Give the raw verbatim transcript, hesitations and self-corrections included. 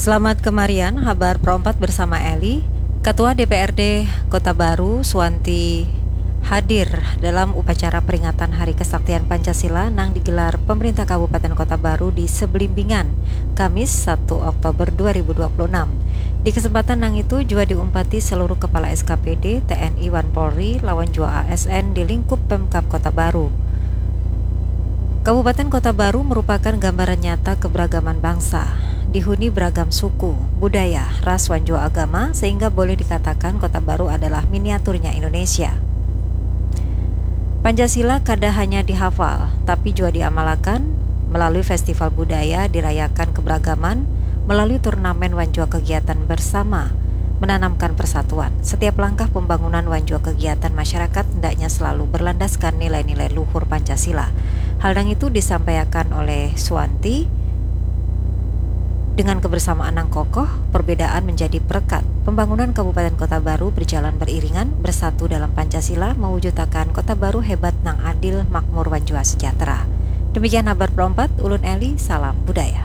Selamat kemarian, habar perompat bersama Eli. Ketua D P R D Kota Baru, Suwanti, hadir dalam upacara peringatan Hari Kesaktian Pancasila nang digelar pemerintah Kabupaten Kota Baru di Sebelimbingan, Kamis, satu Oktober dua ribu dua puluh enam. Di kesempatan nang itu jua diumpati seluruh kepala S K P D, T N I wan Polri, lawan jua A S N di lingkup Pemkab Kota Baru. Kabupaten Kota Baru merupakan gambaran nyata keberagaman bangsa. Dihuni beragam suku, budaya, ras wan jua agama, sehingga boleh dikatakan Kota Baru adalah miniaturnya Indonesia. Pancasila kada hanya dihafal, tapi jua diamalakan melalui festival budaya, dirayakan keberagaman melalui turnamen wan jua kegiatan bersama, menanamkan persatuan. Setiap langkah pembangunan wan jua kegiatan masyarakat hendaknya selalu berlandaskan nilai-nilai luhur Pancasila. Hal nang itu disampaikan oleh Suwanti, dengan kebersamaan nang kokoh, perbedaan menjadi perekat. Pembangunan Kabupaten Kota Baru berjalan beriringan, bersatu dalam Pancasila, mewujudakan Kota Baru hebat nang adil, makmur, wan jua sejahtera. Demikian habar perompat, ulun Eli, salam budaya.